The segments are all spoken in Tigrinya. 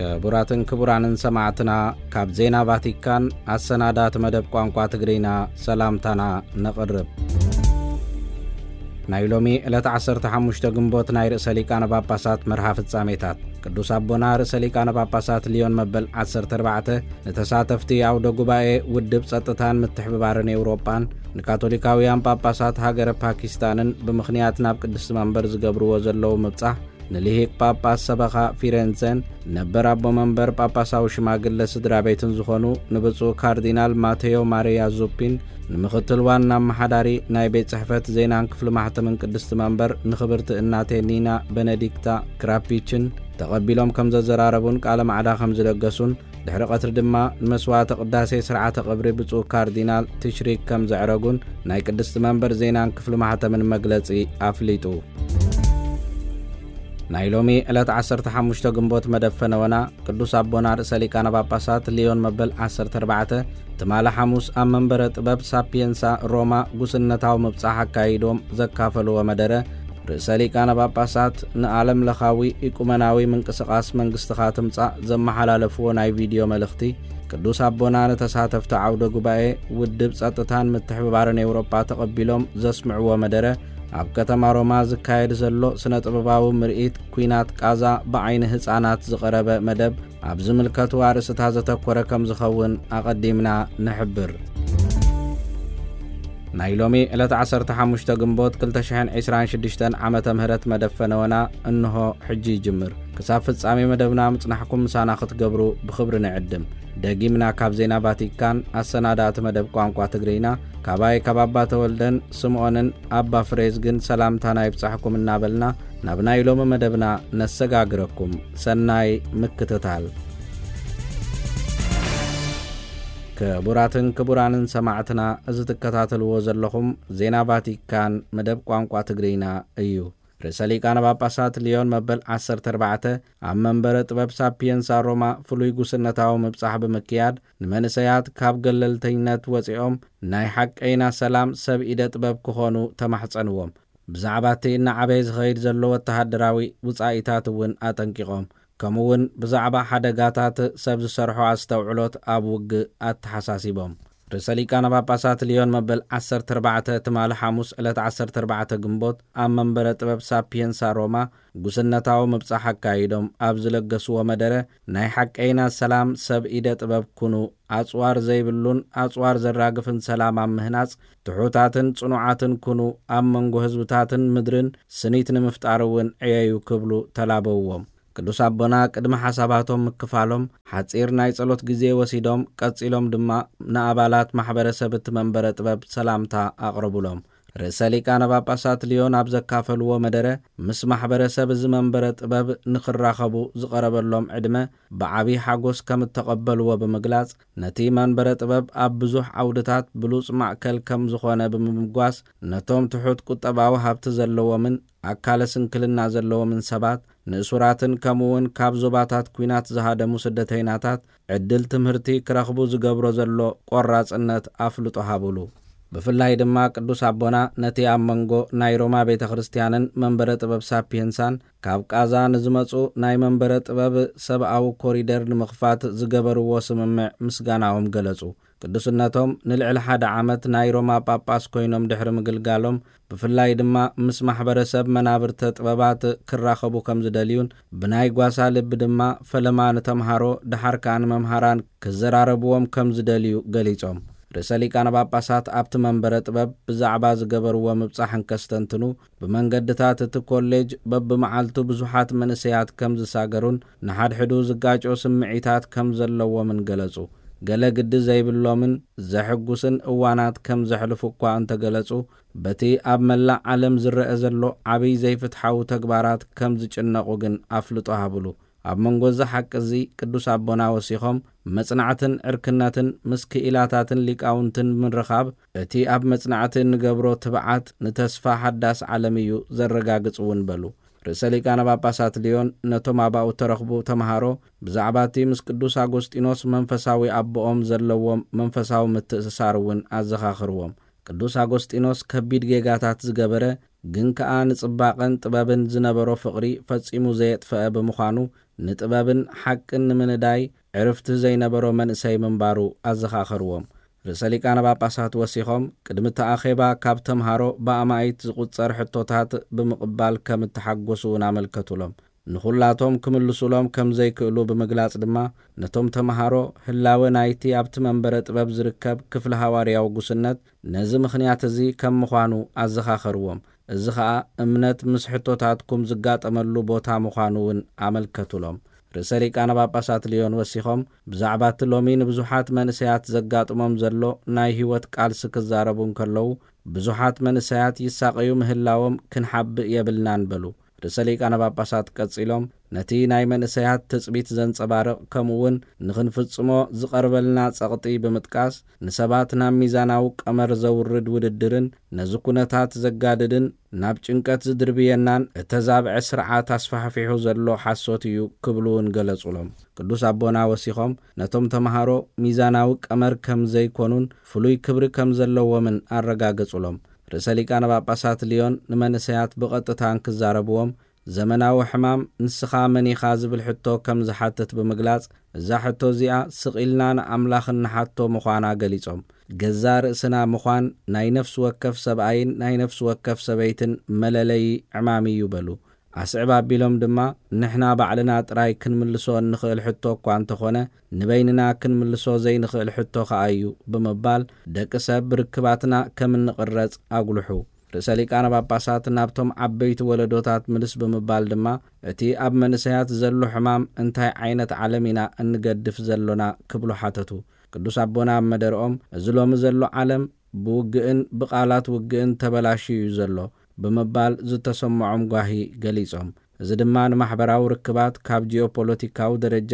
ክቡራትን ክቡራንን ሰማዕትና፣ ካብ ዜና ቫቲካን ኣሰናዳእቲ መደብ ቋንቋ ትግርኛ ሰላምታና ነቕርብ። ናይ ሎሚ ዕለት ዓሰርተ ሓሙሽተ ግንቦት ናይ ርእሰ ሊቃነ ጳጳሳት መርሃ ፍጻሜታት። ቅዱስ ኣቦና ርእሰ ሊቃነ ጳጳሳት ሊዮን መበል ዓሰርተ ኣርባዕተ ንተሳተፍቲ ኣውደ ጉባኤ ውድብ ጸጥታን ምትሕብባርን ኤውሮጳን ንካቶሊካውያን ጳጳሳት ሃገረ ፓኪስታንን ብምኽንያት ናብ ቅድስቲ መንበር ዝገብርዎ ዘለዉ ምብጻሕ ንልሂቅ ጳጳስ ሰበኻ ፊረንዘን ነበር ኣቦ መንበር ጳጳሳዊ ሽማግለ ስድራ ቤትን ዝኾኑ ንብፁዕ ካርዲናል ማቴዮ ማሪያ ዙፒን፣ ንምኽትል ዋና ኣመሓዳሪ ናይ ቤት ጽሕፈት ዜናን ክፍሊ ማሕተምን ቅድስቲ መንበር ንኽብርቲ እናቴ ኒና ቤነዲክታ ክራፒችን ተቐቢሎም ከም ዘዘራረቡን ቃለ ማዕዳ ከም ዝለገሱን፣ ድሕሪ ቀትሪ ድማ ንመስዋዕተ ቅዳሴ ስርዓተ ቀብሪ ብፁዕ ካርዲናል ትሽሪክ ከም ዘዕረጉን ናይ ቅድስቲ መንበር ዜናን ክፍሊ ማሕተምን መግለጺ ኣፍሊጡ። ናይ ሎሚ ዕለት ዓሰርተ ሓሙሽተ ግንቦት መደብ ፈነወና ቅዱስ ኣቦና ርእሰ ሊቃነ ጳጳሳት ሊዮን መበል ዓሰርተ ኣርባዕተ ትማሊ ሓሙስ ኣብ መንበረ ጥበብ ሳፒየንሳ ሮማ ጉስነታዊ ምብጻሕ ኣካይዶም ዘካፈልዎ መደረ፣ ርእሰ ሊቃነ ጳጳሳት ንዓለም ለኻዊ ኢቁመናዊ ምንቅስቓስ መንግስትኻ ትምጻእ ዘመሓላለፍዎ ናይ ቪድዮ መልእኽቲ፣ ቅዱስ ኣቦና ንተሳተፍቲ ዓውደ ጉባኤ ውድብ ጸጥታን ምትሕብባርን ኤውሮጳ ተቐቢሎም ዘስምዕዎ መደረ፣ ኣብ ከተማ ሮማ ዝካየድ ዘሎ ስነ ጥበባዊ ምርኢት ኲናት ቃዛ ብዓይኒ ህጻናት ዝቐረበ መደብ ኣብ ዝምልከቱ ኣርእስታት ዘተኮረ ከም ዝኸውን ኣቐዲምና ንሕብር። ናይ ሎሚ ዕለት ዓሰርተ ሓሙሽተ ግንቦት ክልተ ሽሕን ዕስራን ሽዱሽተን ዓመተ ምህረት መደብ ፈነወና እንሆ ሕጂ ይጅምር። ክሳብ ፍጻሜ መደብና ምጽናሕኩም ምሳና ክትገብሩ ብኽብሪ ንዕድም። ደጊምና ካብ ዜና ቫቲካን ኣሰናዳእቲ መደብ ቋንቋ ትግርኛ፣ ካባይ ካብ ኣባ ተወልደን ስምዖንን ኣባ ፍሬዝግን ሰላምታና ይብጻሕኩም እናበልና፣ ናብ ናይ ሎሚ መደብና ነሰጋግረኩም። ሰናይ ምክትታል። ክቡራትን ክቡራንን ሰማዕትና፣ እዚ ትከታተልዎ ዘለኹም ዜና ቫቲካን መደብ ቋንቋ ትግርኛ እዩ። ርእሰ ሊቃነ ጳጳሳት ሊዮን መበል ዓሰርተ ኣርባዕተ ኣብ መንበረ ጥበብ ሳፒየንሳ ሮማ ፍሉይ ጉስነታዊ ምብጻሕ ብምክያድ፣ ንመንእሰያት ካብ ገለልተኝነት ወጺኦም ናይ ሓቀይና ሰላም ሰብ ኢደ ጥበብ ክኾኑ ተማሕጸንዎም። ብዛዕባ እቲ እናዓበየ ዝኸይድ ዘሎ ወተሃደራዊ ውጻኢታት እውን ኣጠንቂቖም። ከምኡ እውን ብዛዕባ ሓደጋታት ሰብ ዝሰርሖ ኣስተውዕሎት ኣብ ውግእ ኣተሓሳሲቦም። ርእሰ ሊቃነ ጳጳሳት ሊዮን መበል ዓሰርተ ኣርባዕተ ትማሊ ሓሙስ ዕለት ዓሰርተ ኣርባዕተ ግንቦት ኣብ መንበረ ጥበብ ሳፒየንሳ ሮማ ጉስነታዊ ምብጻሕ ኣካይዶም ኣብ ዝለገስዎ መደረ፣ ናይ ሓቀይና ሰላም ሰብ ኢደ ጥበብ ኩኑ፣ ኣጽዋር ዘይብሉን ኣጽዋር ዘራግፍን ሰላም ኣብ ምህናጽ ትሑታትን ጽኑዓትን ኩኑ፣ ኣብ መንጎ ህዝብታትን ምድርን ስኒት ንምፍጣር እውን ዕየዩ ክብሉ ተላበውዎም። ቅዱስ ኣቦና ቅድሚ ሓሳባቶም ምክፋሎም ሓጺር ናይ ጸሎት ግዜ ወሲዶም፣ ቀጺሎም ድማ ንኣባላት ማሕበረሰብ እቲ መንበረ ጥበብ ሰላምታ ኣቕረቡሎም። ርእሰ ሊቃነ ጳጳሳት ሊዮን ኣብ ዘካፈልዎ መደረ፣ ምስ ማሕበረሰብ እዚ መንበረ ጥበብ ንኽራኸቡ ዝቐረበሎም ዕድመ ብዓቢ ሓጎስ ከም እተቐበልዎ ብምግላጽ፣ ነቲ መንበረ ጥበብ ኣብ ብዙሕ ዓውድታት ብሉጽ ማእከል ከም ዝኾነ ብምምጓስ፣ ነቶም ትሑት ቁጠባዊ ሃብቲ ዘለዎምን ኣካለ ስንክልና ዘለዎምን ሰባት፣ ንእሱራትን ከምኡ እውን ካብ ዞባታት ኲናት ዝሃደሙ ስደተይናታት ዕድል ትምህርቲ ክረኽቡ ዝገብሮ ዘሎ ቆራጽነት ኣፍልጦ ሃቡሉ። ብፍላይ ድማ ቅዱስ ኣቦና ነቲ ኣብ መንጎ ናይ ሮማ ቤተ ክርስቲያንን መንበረ ጥበብ ሳፒየንሳን ካብ ቃዛ ንዝመጹ ናይ መንበረ ጥበብ ሰብኣዊ ኮሪደር ንምኽፋት ዝገበርዎ ስምምዕ ምስጋናኦም ገለጹ። ቅዱስነቶም ንልዕሊ ሓደ ዓመት ናይ ሮማ ጳጳስ ኮይኖም ድሕሪ ምግልጋሎም፣ ብፍላይ ድማ ምስ ማሕበረሰብ መናብርተ ጥበባት ክራኸቡ ከም ዝደልዩን ብናይ ጓሳ ልቢ ድማ ፈለማ ንተምሃሮ ደሓር ከኣ ንመምሃራን ክዘራረብዎም ከም ዝደልዩ ገሊጾም። ርእሰ ሊቃነ ጳጳሳት ኣብቲ መንበረ ጥበብ ብዛዕባ ዝገበርዎ ምብጻሕ እንከስተንትኑ፣ ብመንገድታት እቲ ኮሌጅ በብመዓልቱ ብዙሓት መንእሰያት ከም ዝሳገሩን ንሓድሕዱ ዝጋጮ ስምዒታት ከም ዘለዎምን ገለጹ። ገለ ግዲ ዘይብሎምን ዘሕጉስን እዋናት ከም ዘሕልፉ እኳ እንተገለጹ፣ በቲ ኣብ መላእ ዓለም ዝረአ ዘሎ ዓብይ ዘይፍትሓዊ ተግባራት ከም ዝጭነቑ ግን ኣፍልጦ ሃብሉ። ኣብ መንጎ እዚ ሓቂ እዚ ቅዱስ ኣቦና ወሲኾም፣ መጽናዕትን ዕርክነትን ምስ ክኢላታትን ሊቃውንትን ብምርኻብ፣ እቲ ኣብ መጽናዕቲ እንገብሮ ትብዓት ንተስፋ ሓዳስ ዓለም እዩ ዘረጋግጽ እውን በሉ። ርእሰ ሊቃነ ጳጳሳት ሊዮን ነቶም ኣብኡ እተረኽቡ ተምሃሮ ብዛዕባ እቲ ምስ ቅዱስ ኣጎስጢኖስ መንፈሳዊ ኣቦኦም ዘለዎም መንፈሳዊ ምትእስሳር እውን ኣዘኻኽርዎም። ቅዱስ ኣጎስጢኖስ ከቢድ ጌጋታት ዝገበረ፣ ግን ከኣ ንጽባቐን ጥበብን ዝነበሮ ፍቕሪ ፈጺሙ ዘየጥፈአ ብምዃኑ፣ ንጥበብን ሓቅን ንምንዳይ ዕርፍቲ ዘይነበሮ መንእሰይ ምንባሩ ኣዘኻኸርዎም። ርእሰ ሊቃነ ጳጳሳት ወሲኾም፣ ቅድሚ እቲ ኣኼባ ካብ ተምሃሮ ብኣማኢት ዝቑጸር ሕቶታት ብምቕባል ከም እተሓጎሱ እውን ኣመልከቱሎም። ንኹላቶም ክምልሱሎም ከም ዘይክእሉ ብምግላጽ ድማ፣ ነቶም ተምሃሮ ህላወ ናይቲ ኣብቲ መንበረ ጥበብ ዝርከብ ክፍሊ ሃዋርያዊ ጉስነት ነዚ ምኽንያት እዚ ከም ምዃኑ ኣዘኻኸርዎም። እዚ ኸኣ እምነት ምስ ሕቶታትኩም ዝጋጠመሉ ቦታ ምዃኑ እውን ኣመልከቱሎም። ርእሰ ሊቃነ ጳጳሳት ልዮን ወሲኾም፣ ብዛዕባ እቲ ሎሚ ንብዙሓት መንእሰያት ዘጋጥሞም ዘሎ ናይ ህይወት ቃልሲ ክዛረቡ እንከለዉ፣ ብዙሓት መንእሰያት ይሳቐዩ ምህላዎም ክንሓብእ የብልናን በሉ። ርእሰ ሊቃነ ጳጳሳት ቀጺሎም፣ ነቲ ናይ መንእሰያት ትጽቢት ዘንጸባርቕ፣ ከምኡ እውን ንኽንፍጽሞ ዝቐርበልና ጸቕጢ ብምጥቃስ፣ ንሰባት ናብ ሚዛናዊ ቀመር ዘውርድ ውድድርን ነዚ ኩነታት ዘጋድድን ናብ ጭንቀት ዝድርብየናን እተዛብዐ ስርዓት ኣስፋሕፊሑ ዘሎ ሓሶት እዩ ክብሉ እውን ገለጹሎም። ቅዱስ ኣቦና ወሲኾም፣ ነቶም ተምሃሮ ሚዛናዊ ቀመር ከም ዘይኮኑን ፍሉይ ክብሪ ከም ዘለዎምን ኣረጋገጹሎም። ርእሰ ሊቃነ ጳጳሳት ልዮን ንመንእሰያት ብቐጥታ እንክዛረብዎም፣ ዘመናዊ ሕማም ንስኻ መን ኢኻ ዝብል ሕቶ ከም ዝሓትት ብምግላጽ፣ እዛ ሕቶ እዚኣ ስቕ ኢልና ንኣምላኽ እንሓቶ ምዃና ገሊጾም፣ ገዛእ ርእስና ምዃን ናይ ነፍሲ ወከፍ ሰብኣይን ናይ ነፍሲ ወከፍ ሰበይትን መለለዪ ዕማም እዩ በሉ። ኣስዕብ ኣቢሎም ድማ፣ ንሕና ባዕልና ጥራይ ክንምልሶ እንኽእል ሕቶ እኳ እንተኾነ፣ ንበይንና ክንምልሶ ዘይንኽእል ሕቶ ኸኣ እዩ ብምባል፣ ደቂ ሰብ ብርክባትና ከም እንቕረጽ ኣጉልሑ። ርእሰ ሊቃነ ጳጳሳት ናብቶም ዓበይቲ ወለዶታት ምልስ ብምባል ድማ፣ እቲ ኣብ መንእሰያት ዘሎ ሕማም እንታይ ዓይነት ዓለም ኢና እንገድፍ ዘሎና ክብሉ ሓተቱ። ቅዱስ ኣቦና ኣብ መደርኦም፣ እዚ ሎሚ ዘሎ ዓለም ብውግእን ብቓላት ውግእን ተበላሽዩ እዩ ዘሎ ብምባል ዝተሰምዖም ጓሂ ገሊጾም። እዚ ድማ ንማሕበራዊ ርክባት ካብ ጂኦፖለቲካዊ ደረጃ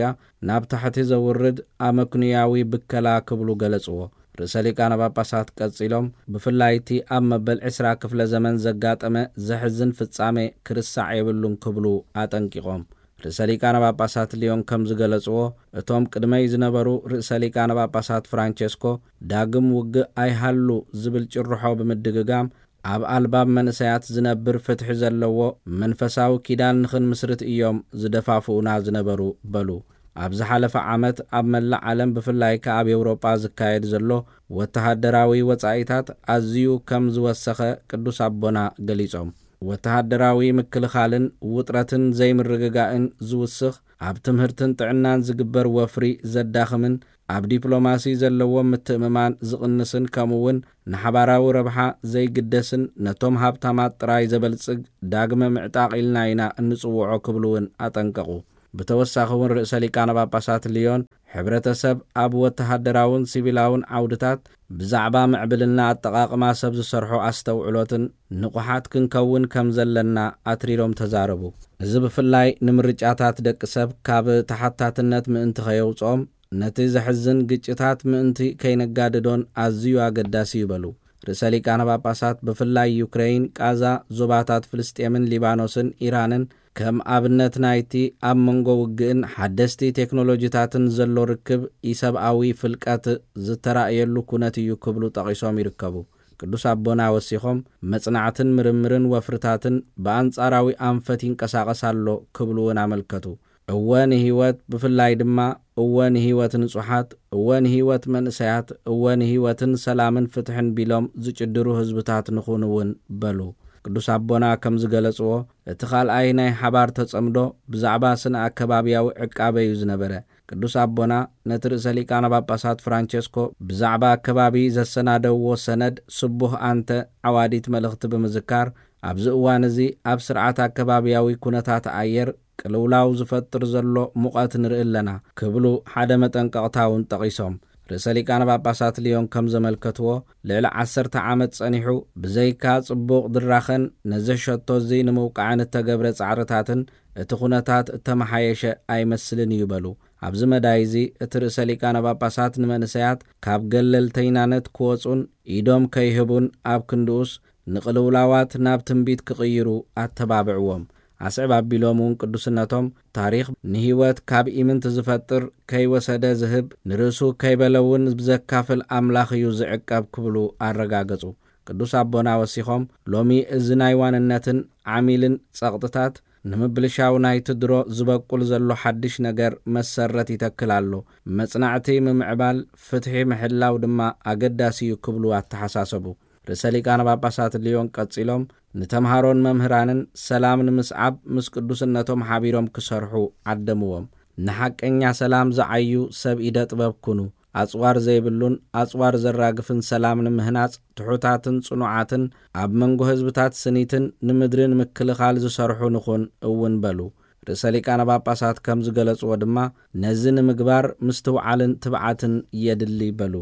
ናብ ታሕቲ ዘውርድ ኣመክንያዊ ብከላ ክብሉ ገለጽዎ። ርእሰ ሊቃነ ጳጳሳት ቀጺሎም፣ ብፍላይ እቲ ኣብ መበል ዕስራ ክፍለ ዘመን ዘጋጠመ ዘሕዝን ፍጻሜ ክርስዕ የብሉን ክብሉ ኣጠንቂቖም። ርእሰ ሊቃነ ጳጳሳት ልዮን ከም ዝገለጽዎ፣ እቶም ቅድመይ ዝነበሩ ርእሰ ሊቃነ ጳጳሳት ፍራንቸስኮ፣ ዳግም ውግእ ኣይሃሉ ዝብል ጭርሖ ብምድግጋም፣ ኣብ ኣልባብ መንእሰያት ዝነብር ፍትሒ ዘለዎ መንፈሳዊ ኪዳን ንኽንምስርት እዮም ዝደፋፍኡና ዝነበሩ በሉ። ኣብ ዝሓለፈ ዓመት ኣብ መላእ ዓለም፣ ብፍላይ ከኣ ኣብ ኤውሮጳ ዝካየድ ዘሎ ወተሃደራዊ ወጻኢታት ኣዝዩ ከም ዝወሰኸ ቅዱስ ኣቦና ገሊጾም። ወተሃደራዊ ምክልኻልን ውጥረትን ዘይምርግጋእን ዝውስኽ፣ ኣብ ትምህርትን ጥዕናን ዝግበር ወፍሪ ዘዳኽምን፣ ኣብ ዲፕሎማሲ ዘለዎም ምትእምማን ዝቕንስን፣ ከምኡውን ንሓባራዊ ረብሓ ዘይግደስን ነቶም ሃብታማት ጥራይ ዘበልጽግ ዳግመ ምዕጣቕ ኢልና ኢና እንጽውዖ ክብሉ እውን ኣጠንቀቑ። ብተወሳኺ እውን ርእሰ ሊቃነ ጳጳሳት ልዮን፣ ሕብረተሰብ ኣብ ወተሃደራውን ሲቪላውን ዓውድታት ብዛዕባ ምዕብልና ኣጠቓቕማ ሰብ ዝሰርሖ ኣስተውዕሎትን ንቑሓት ክንከውን ከም ዘለና ኣትሪሮም ተዛረቡ። እዚ ብፍላይ ንምርጫታት ደቂ ሰብ ካብ ተሓታትነት ምእንቲ ከየውጽኦም፣ ነቲ ዘሕዝን ግጭታት ምእንቲ ከይነጋድዶን ኣዝዩ ኣገዳሲ እዩ በሉ። ርእሰ ሊቃነ ጳጳሳት ብፍላይ ዩክረይን፣ ቃዛ፣ ዞባታት ፍልስጤምን ሊባኖስን ኢራንን ከም ኣብነት ናይቲ ኣብ መንጎ ውግእን ሓደስቲ ቴክኖሎጂታትን ዘሎ ርክብ ኢሰብኣዊ ፍልቀት ዝተራእየሉ ኩነት እዩ ክብሉ ጠቒሶም ይርከቡ። ቅዱስ ኣቦና ወሲኾም፣ መጽናዕትን ምርምርን ወፍርታትን ብኣንጻራዊ ኣንፈት ይንቀሳቐስ ኣሎ ክብሉ እውን ኣመልከቱ። እወ ንህይወት፣ ብፍላይ ድማ እወ ንህይወት ንጹሓት፣ እወ ንህይወት መንእሰያት፣ እወ ንህይወትን ሰላምን ፍትሕን ቢሎም ዝጭድሩ ህዝብታት ንኹን እውን በሉ። ቅዱስ ኣቦና ከም ዝገለጽዎ፣ እቲ ካልኣይ ናይ ሓባር ተጸምዶ ብዛዕባ ስነ ኣከባብያዊ ዕቃበ እዩ ዝነበረ። ቅዱስ ኣቦና ነቲ ርእሰ ሊቃነ ጳጳሳት ፍራንቸስኮ ብዛዕባ ኣከባቢ ዘሰናደውዎ ሰነድ ስቡህ ኣንተ ዓዋዲት መልእኽቲ ብምዝካር፣ ኣብዚ እዋን እዚ ኣብ ስርዓት ኣከባብያዊ ኩነታት ኣየር ቅልውላው ዝፈጥር ዘሎ ሙቐት ንርኢ ኣለና ክብሉ ሓደ መጠንቀቕታ እውን ጠቒሶም። ርእሰ ሊቃነ ጳጳሳት ልዮን ከም ዘመልከትዎ፣ ልዕሊ ዓሰርተ ዓመት ጸኒሑ ብዘይካ ጽቡቕ ድራኸን ነዚ ሸቶ እዚ ንምውቃዕን እተገብረ ጻዕርታትን እቲ ኩነታት እተመሓየሸ ኣይመስልን እዩ በሉ። ኣብዚ መዳይ እዚ እቲ ርእሰ ሊቃነ ጳጳሳት ንመንእሰያት ካብ ገለልተይናነት ክወጹን ኢዶም ከይህቡን ኣብ ክንድኡስ ንቕልውላዋት ናብ ትንቢት ክቕይሩ ኣተባብዕዎም። ኣስዕብ ኣቢሎም እውን ቅዱስነቶም፣ ታሪኽ ንህይወት ካብ ኢምንት ዝፈጥር፣ ከይወሰደ ዝህብ፣ ንርእሱ ከይበለ እውን ብዘካፍል ኣምላኽ እዩ ዝዕቀብ ክብሉ ኣረጋገጹ። ቅዱስ ኣቦና ወሲኾም፣ ሎሚ እዚ ናይ ዋንነትን ዓሚልን ጸቕጥታት ንምብልሻው ናይቲ ድሮ ዝበቁል ዘሎ ሓድሽ ነገር መሰረት ይተክል ኣሎ። መጽናዕቲ ምምዕባል፣ ፍትሒ ምሕላው ድማ ኣገዳሲ እዩ ክብሉ ኣተሓሳሰቡ። ርእሰ ሊቃነ ጳጳሳት ልዮን ቀጺሎም፣ ንተምሃሮን መምህራንን ሰላም ንምስዓብ ምስ ቅዱስነቶም ሓቢሮም ክሰርሑ ዓደምዎም። ንሓቀኛ ሰላም ዝዓዩ ሰብ ኢደ ጥበብ ኩኑ። ኣጽዋር ዘይብሉን ኣጽዋር ዘራግፍን ሰላም ንምህናጽ፣ ትሑታትን ጽኑዓትን፣ ኣብ መንጎ ህዝብታት ስኒትን ንምድሪ ንምክልኻል ዝሰርሑ ንኹን እውን በሉ። ርእሰ ሊቃነ ጳጳሳት ከም ዝገለጽዎ ድማ፣ ነዚ ንምግባር ምስትውዓልን ትብዓትን የድሊ በሉ።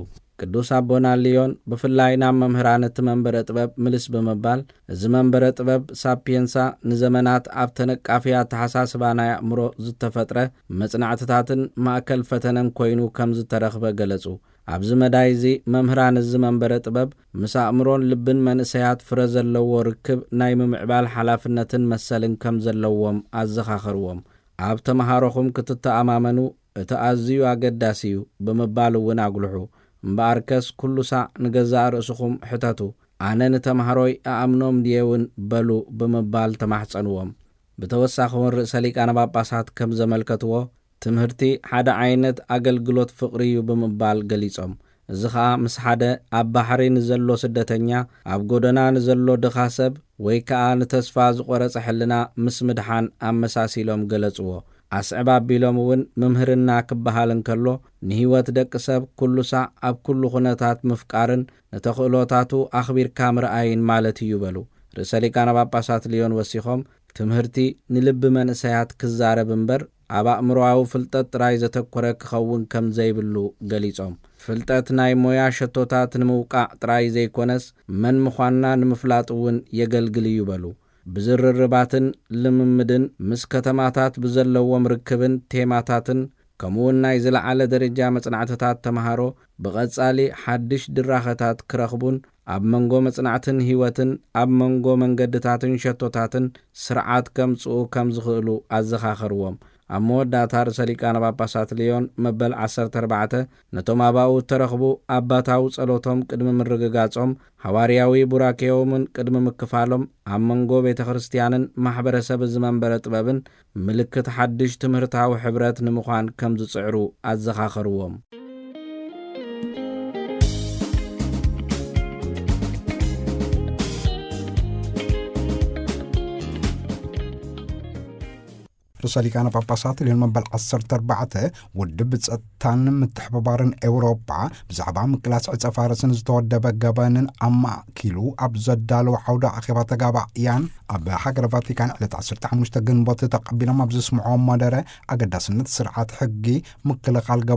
ቅዱስ ኣቦና ልዮን ብፍላይ ናብ መምህራን እቲ መንበረ ጥበብ ምልስ ብምባል፣ እዚ መንበረ ጥበብ ሳፒየንሳ ንዘመናት ኣብ ተነቃፊ ኣተሓሳስባ ናይ ኣእምሮ ዝተፈጥረ መጽናዕትታትን ማእከል ፈተነን ኮይኑ ከም ዝተረኽበ ገለጹ። ኣብዚ መዳይ እዚ መምህራን እዚ መንበረ ጥበብ ምስ ኣእምሮን ልብን መንእሰያት ፍረ ዘለዎ ርክብ ናይ ምምዕባል ሓላፍነትን መሰልን ከም ዘለዎም ኣዘኻኸርዎም። ኣብ ተመሃሮኹም ክትተኣማመኑ እቲ ኣዝዩ ኣገዳሲ እዩ ብምባል እውን ኣጉልሑ። እምበኣርከስ ኩሉ ሳዕ ንገዛእ ርእስኹም ሕተቱ፣ ኣነ ንተምሃሮይ እኣምኖም ድየ እውን በሉ ብምባል ተማሕጸንዎም። ብተወሳኺ እውን ርእሰ ሊቃነ ጳጳሳት ከም ዘመልከትዎ፣ ትምህርቲ ሓደ ዓይነት ኣገልግሎት ፍቕሪ እዩ ብምባል ገሊጾም። እዚ ኸኣ ምስ ሓደ ኣብ ባሕሪ ንዘሎ ስደተኛ፣ ኣብ ጎደና ንዘሎ ድኻ ሰብ፣ ወይ ከኣ ንተስፋ ዝቖረጸ ሕልና ምስ ምድሓን ኣመሳሲሎም ገለጽዎ። ኣስዕብ ኣቢሎም እውን ምምህርና ክበሃል እንከሎ፣ ንህይወት ደቂ ሰብ ኩሉ ሳዕ ኣብ ኩሉ ኩነታት ምፍቃርን ንተኽእሎታቱ ኣኽቢርካ ምርኣይን ማለት እዩ በሉ። ርእሰ ሊቃነ ጳጳሳት ልዮን ወሲኾም፣ ትምህርቲ ንልቢ መንእሰያት ክዛረብ እምበር ኣብ ኣእምሮኣዊ ፍልጠት ጥራይ ዘተኮረ ክኸውን ከም ዘይብሉ ገሊጾም፣ ፍልጠት ናይ ሞያ ሸቶታት ንምውቃዕ ጥራይ ዘይኮነስ መን ምዃንና ንምፍላጥ እውን የገልግል እዩ በሉ። ብዝርርባትን ልምምድን ምስ ከተማታት ብዘለዎም ርክብን ቴማታትን ከምኡውን ናይ ዝለዓለ ደረጃ መጽናዕትታት ተምሃሮ ብቐጻሊ ሓድሽ ድራኸታት ክረኽቡን ኣብ መንጎ መጽናዕትን ህይወትን ኣብ መንጎ መንገድታትን ሸቶታትን ስርዓት ከምጽኡ ከም ዝኽእሉ ኣዘኻኸርዎም። ኣብ መወዳእታ ርእሰ ሊቃነ ጳጳሳት ልዮን መበል ዓሰርተ ኣርባዕተ ነቶም ኣባኡ እተረኽቡ ኣባታዊ ጸሎቶም ቅድሚ ምርግጋጾም፣ ሃዋርያዊ ቡራኬዮምን ቅድሚ ምክፋሎም፣ ኣብ መንጎ ቤተ ክርስቲያንን ማሕበረሰብ እዚ መንበረ ጥበብን ምልክት ሓድሽ ትምህርታዊ ሕብረት ንምዃን ከም ዝጽዕሩ ኣዘኻኸርዎም። ርእሰ ሊቃነ ጳጳሳት ልዮን መበል ዓሰርተ ኣርባዕተ፣ ውድብ ጸጥታን ምትሕብባርን ኤውሮጳ ብዛዕባ ምቅላስ ዕጸ ፋርስን ዝተወደበ ገበንን ኣማእኪሉ ኣብ ዘዳለወ ዓውደ ኣኼባ ተጋባእያን፣ ኣብ ሃገረ ቫቲካን ዕለት ዓሰርተ ሓሙሽተ ግንቦት ተቐቢሎም ኣብ ዘስምዕዎ መደረ፣ ኣገዳስነት ስርዓት ሕጊ፣ ምክልኻል ገበን